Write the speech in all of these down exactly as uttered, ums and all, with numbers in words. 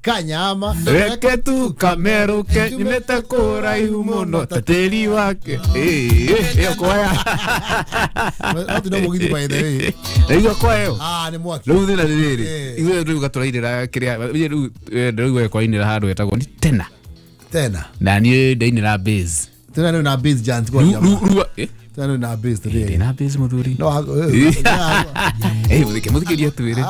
Kanyama reke tu kameruke nyumete kuraihu muno ta tĩri wake. Ĩyo kwaya no no mugithi by the way ĩyo kwaya ĩyo ah nĩ mwaki rĩu thĩna nĩ rĩrĩ ithuĩ rĩu gatũrainĩra kĩrĩa rĩu rĩu kwainĩra handũ hetagwo ni tena tena na niĩ ndainĩra bass tena nĩ na bass giant kwa rĩu eh tena na bass today ndĩ na bass mũthuri no eh mũthike mũthikĩria twĩre.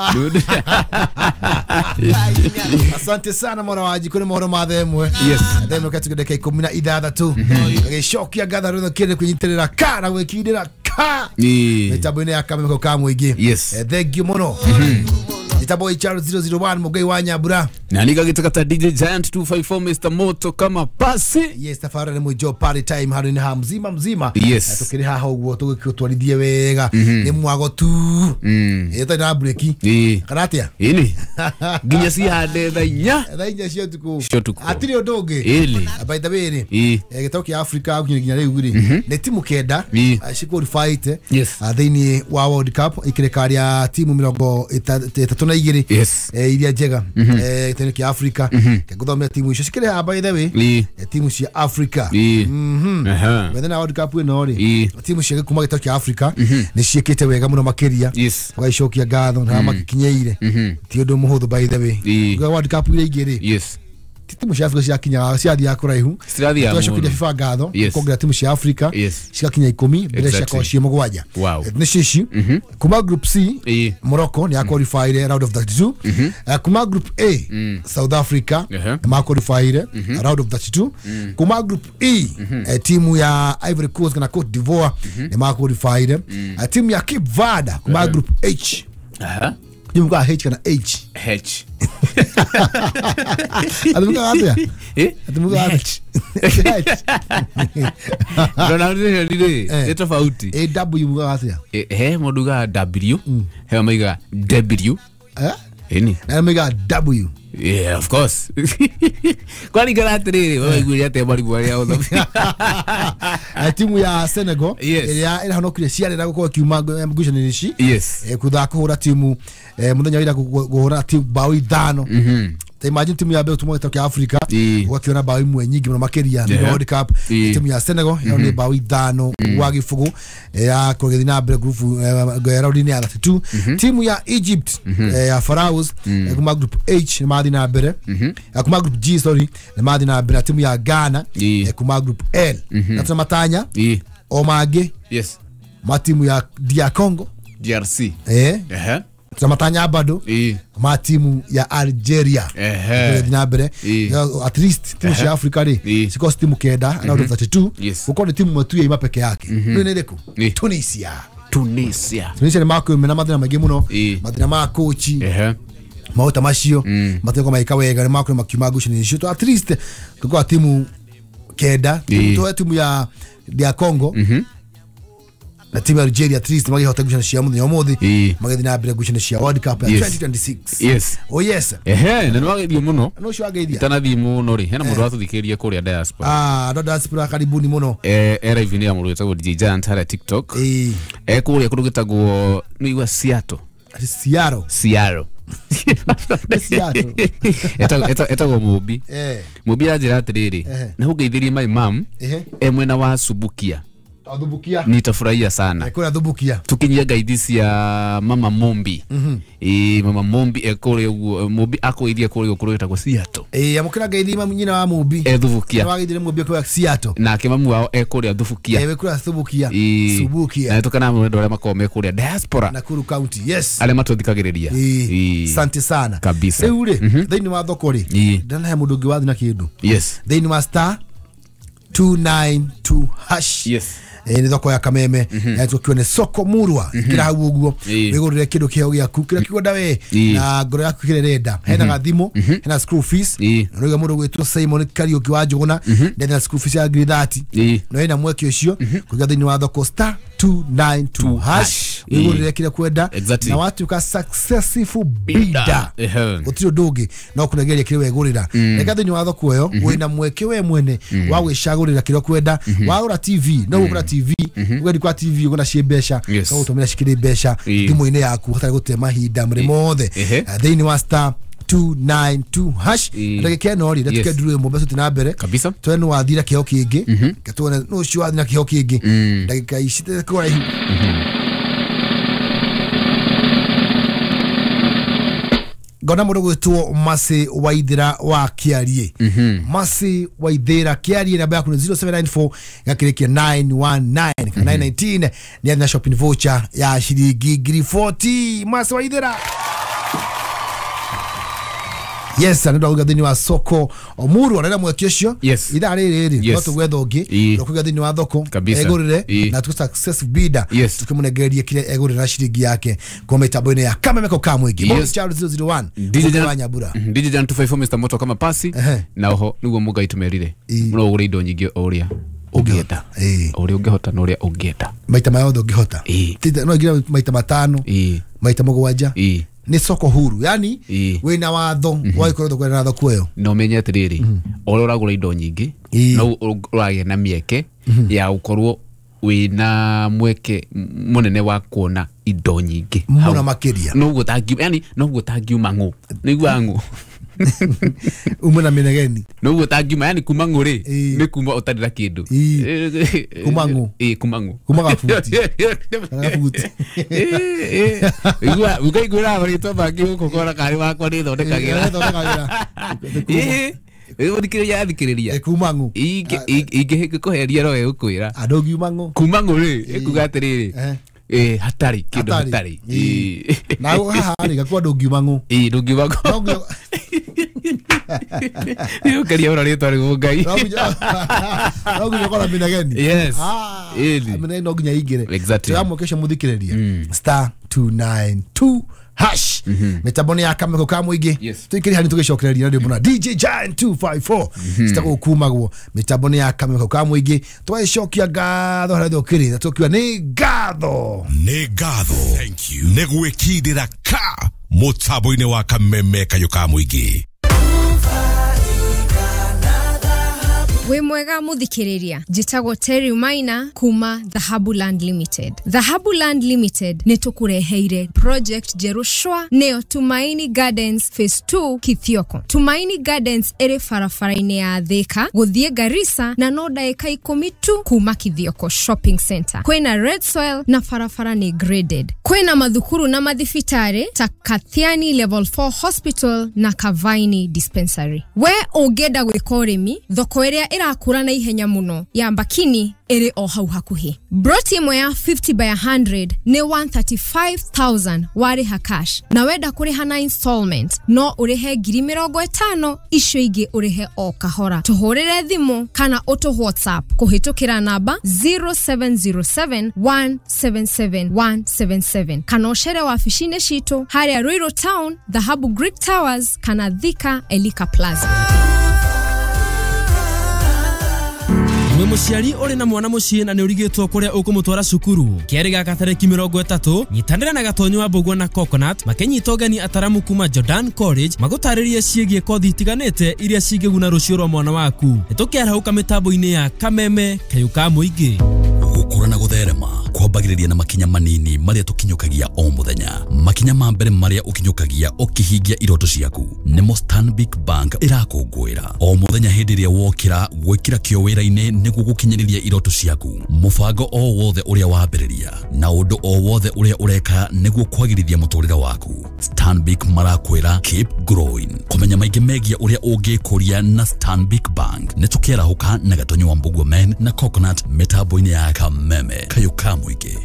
Asante sana mwana wa jiko ni mohoro ma themwe. Yes. Themwe katuge dakika ikumi na ithathatu. Gĩcokia ngatho rwĩtho kĩrĩ kwĩnyitĩrĩra ka na gwĩkindĩra ka. Mĩtambo-inĩ ya kameme ka mũingĩ. Yes. Thank you mũno. Jitabo H R zero zero one Mugai wa Nyambura. Na nika gitaka D J Giant two five four Mister Moto kama pasi. Yes, tafara ni mwijo party time haro ni ha mzima mzima. Yes. Tukiri haha uguo tugĩtwarithie wega. Ni mwago tu. Mm. Ĩta na break. Kana atia? Ini. Nginya si hande thaa inya. Thaa inya cia utuku. Cia utuku. Atiri ũndũ ũngĩ. Ili. By the way rĩ. Gĩtau kĩa Africa nginya rĩu rĩ. Nĩ timu kenda ciqualified. Yes. Thĩinĩ wa World Cup ikĩrĩkaria timu mĩrongo ĩtatũ na igĩrĩ. Yes. Iria njega. Eh gĩtau kĩa Africa. Ngũthomera timu icio cikĩrĩ haha by the way. Timu cia Africa. Mhm. By the World Cup ĩno rĩ. Timu cia kuma gĩtau kĩa Africa nĩ ciĩkĩte wega mũno makĩria. Ũgaicokia ngatho na magĩkinyeire. Ti ũndũ mũhũthũ by the way. World Cup iria ingĩ rĩ. Yes. Timu cia Africa ciakinyaga ciathiaga kũraihu. Twacokirie FIFA ngatho kuongerera timu cia Africa cigakinya ikũmi mbere ciakorwo ciĩ mũgwanja. Nĩ ici kuma group C Morocco nĩ yaqualified round of thirty-two. Kuma group A South Africa ma qualified round of thirty-two. Kuma group E timu ya Ivory Coast na Cote d'Ivoire nĩ ma qualified. Timu ya Cape Verde kuma group H. Aha. Timu ya H kana H. H. Atimuka atia? Eh? Atimuka atia? H. Ndona rĩ rĩ nĩ tofauti. A W muga atia? Eh mũndũ ga W he maiga W. Eh? Ĩni. Na maiga W. Yeah, of course. Kwani gara atĩrĩrĩ waiguire atĩa marigũ arĩa othe. Timu ya Senegal ĩrĩa ĩrahonokire ciarĩ gũkorwo kiuma ngucanio ici. Yes. Kũthaka kũhũra timu mũthenya wa ira kũhũra timu bao ithano. Ta imagine timu ya mbere tuma gĩtau kĩa Africa ũgakiona bao imwe nyingĩ mũno makĩria thĩinĩ wa World Cup. Timu ya Senegal ĩyo nĩ bao ithano gwa gĩbũgũ ya kũgĩthiĩ na mbere group round-inĩ ya thirty-two. Timu ya Egypt ya Pharaohs kuma group H nĩ mathiĩ na mbere kuma group G sorry nĩ mathiĩ na mbere timu ya Ghana kuma group L na tuna matanya o mangĩ yes ma timu ya D R Congo D R C eh ehe tuna bado ma timu ya Algeria ehe na mbere at least timu ya Africa rĩ ciko timu kenda round of thirty-two uko ni timu matu ya ima peke yake nĩ ĩrĩkũ Tunisia Tunisia Tunisia nĩ makwĩmena mathĩna maingĩ mũno mathĩna ma kochi ehe maũta macio mathĩna maika wega nĩ makwĩ makiuma ngucanio icio to at least tukwa timu kenda tuwe timu ya D R Congo na timu ya Algeria at least magĩhota ngucanio cia mũthenya ũmũthĩ magĩthiĩ na mbere ngucanio cia World Cup ya twenty twenty-six. Yes. Oh yes. Ehe na nĩwageithio mũno. No ũcio wageithia. Itanathiĩ mũno rĩ hena mũndũ watũthikĩrĩria kũrĩa diaspora. Ah, andũ a diaspora karibuni mũno. Eh era live ya mũndũ wĩtagwo D J Giant harĩa TikTok. Eh. Eh kũrĩa kũndũ gĩtagwo nĩ igua Seattle. Seattle. Seattle. Seattle. Etagwo Mũmbi. Eh. Mũmbi anjĩra atĩrĩrĩ na ũngeithĩrie my mom e mwena wa Subukia. Thubukia. Nitafurahia sana. Kuna Thubukia. Tukinyia ngaithi cia mama Mombi. Mm -hmm. E mama Mombi ekore uguo Mombi akoithia kuri uguo gwetagwo Seattle. Eh amukira ngaithi mama nyina wa Mombi. E Thubukia. Wageithire Mombi kwa Seattle. Nake mamu wao ekuria Thubukia. Eh wekura Thubukia. Subukia. Na tukana mwendo aria makoragwo me kuria diaspora. Nakuru County. Yes. Aria matuthikagiriria. Eh. Asante sana. Kabisa. Riu ri thiini wa thoko ri ndanahe mundu ungi wathi na kindu. Yes. Thiini wa star two nine two hash. Yes. Eh ni thoko ya Kameme ya tukione soko murwa kira hau uguo wigurire kindu kiheo giaku kira kikwenda we na ngoro yaku kirerenda hena gathimo hena school fees no mundu gwitwo Simon Kariuki wa Njuguna ndena school fees ya ngiri thirty no hena mweke ucio kuiga thiini wa thoko star two nine two hash wigurire kira kwenda na watuka successful bidder gutiri undu ungi no kunegeria kire wegurira reka thiini wa thoko iyo wina mweke we mwene wa gwicagurira kira kwenda wagura T V no gugura T V ugendi kwa T V ugona cie mbeca no gutumira cikiri mbeca thimu-ini yaku hatari gute mahinda muri mothe thiini wa star two nine two hash ndagika ĩno rĩ ndatuke nduru ĩmwe mbeca na mbere kabisa twene wathira kĩho kĩngĩ gatuone no ũcio wathira kĩho kĩngĩ ndagika ici kũraihu. Ngona mũndũ gwĩtwo Masi Waithira wa Kĩarie. Masi Waithira Kĩarie, namba yaku nĩ zero seven nine four gakĩrĩkia nine one nine kana nine nineteen nĩ athina shopping voucher ya ciringi ngiri forty. Masi Waithira. Yes, andu auga thini wa soko omuru arera mweki ucio ithaa riri riri no tugwetha ungi no kuga thini wa thoko egurire na tu success bidder tukimunengereria kire egurira ciringi yake kwa mitambo-ini ya Kameme ka mwingi. Yes. Charles zero zero one D J wa Nyambura D J Jan two five four Mister Moto kama pasi na oho niguo Mungai tumerire muno ugure indo nyingi o uria ungienda o uria ungihota na uria ungienda maita mayothe ungihota no ngira maita matano maita mugwanja ni soko huru, yani wina watho wa ikorwo thoko na thoko iyo no menye atiriri oro uragura indo nyingi no uragia na mieke ya ukorwo wina mweke munene wa kuona indo nyingi muno makiria no guo tangi yani no guo tangiuma ng'u niguo ng'u umwe na minegeni no guo tangiuma yani kuma ng'u ri ni kuma utari na kindu kuma ng'u eh kuma ng'u kuma gabuti gabuti eh igua ukaigura marĩtwa mangĩ gũkũ kora karĩ wakwa nĩ thondekagĩra eh ũthikĩrĩria athikĩrĩria kuma ng'u ingĩkũheria no ĩgũkwĩra andũ ngiuma ng'u kuma ng'u rĩ ĩkuga atĩrĩrĩ eh hatari kindu hatari na haha rĩ gakuwa ndũngiuma ng'u ĩ ndũngiuma ng'u nĩũkeria ũra rĩtwa rĩu Ngai no nginya ũkora minegeni. Yes, minegeni no nginya ingĩre exactly twamũkĩca mũthikĩrĩria star two nine two hash mitambo ya Kameme ka mwingi tuikiri hani tugicokereria ndio mbona D J Giant two five four citagwo kumagwo mitambo ya Kameme ka mwingi twagicokia ngatho haria thukiri na tukiwa ni ngatho ni ngatho thank you ni gwikindira ka mutambo-ini wa Kameme kayo ka mwingi. Wĩ mwega muthikiriria, njĩtagwo Terry Maina kuma Dhahabu Land Limited. Dhahabu Land Limited nĩ tũkũreheire project njerũ nĩyo Tumaini Gardens Phase two Kithioko. Tumaini Gardens ĩrĩ barabara-inĩ ya Thika gũthiĩ Garissa na no ndagĩka ikũmi tu kuma Kithioko Shopping Center. Kwĩna red soil na barabara nĩ graded. Kwĩna mathukuru na mathibitarĩ ta Kathiani Level four Hospital na Kavaini Dispensary. We ũngĩenda gwĩka ũrĩmi, thoko ĩrĩa irakura na ihenya muno ya Mbakini ĩrĩ o hau hakuhĩ. Broti ĩmwe ya fifty by a hundred nĩ one thirty-five thousand warĩha cash, na wenda kũrĩha na installment no ũrĩhe ngiri mĩrongo ĩtano, icio ingĩ ũrĩhe o kahora. Tũhũrĩre thimũ kana ũtũ WhatsApp kũhĩtũkĩra namba zero seven zero seven one seven seven one seven seven kana ũcere wabici-inĩ citũ harĩa Ruiru Town, Dhahabu Greek Towers kana Thika Elika Plaza. Mwe mũciari ũrĩ na mwana mũciĩ na nĩ ũrigĩtwo kũrĩa ũkũmũtwara cukuru kĩarĩ gaka tarĩki mĩrongo ĩtatũ nyitanĩra na Gatonyo wa Mbũgua na Coconut makĩnyita ũgeni ataramu kuma Jordan College magũtarĩrie ciĩgiĩ kothi itiganĩte iria cingĩguna rũciũ rwa mwana waku. Nĩtũkĩarahũka mĩtambo-inĩ ya Kameme kayũ ka mũingĩ. Gũkũra na gũtherema kwambagĩrĩria na makinya manini marĩa tũkinyũkagia o mũthenya. Makinya ma mbere marĩa ũkinyũkagia ũkĩhingia iroto ciaku nĩmo Stanbic Bank ĩrakũngũĩra o mũthenya hĩndĩ ĩrĩa wokĩra gwĩkĩra kĩo wĩra-inĩ nĩguo gũkinyĩrĩria iroto ciaku. Mũbango o wothe ũrĩa wambĩrĩria na ũndũ o wothe ũrĩa ũreka nĩguo kwagĩrithia mũtũrĩre waku, Stanbic marakwĩra keep growing. Kũmenya maingĩ megiĩ ũrĩa ũngĩkũria na Stanbic Bank nĩ tũkĩarahũka na Gatonyo wa Mbũgua Men na Coconut mĩtambo-inĩ ya Kameme kayũ ka mũingĩ.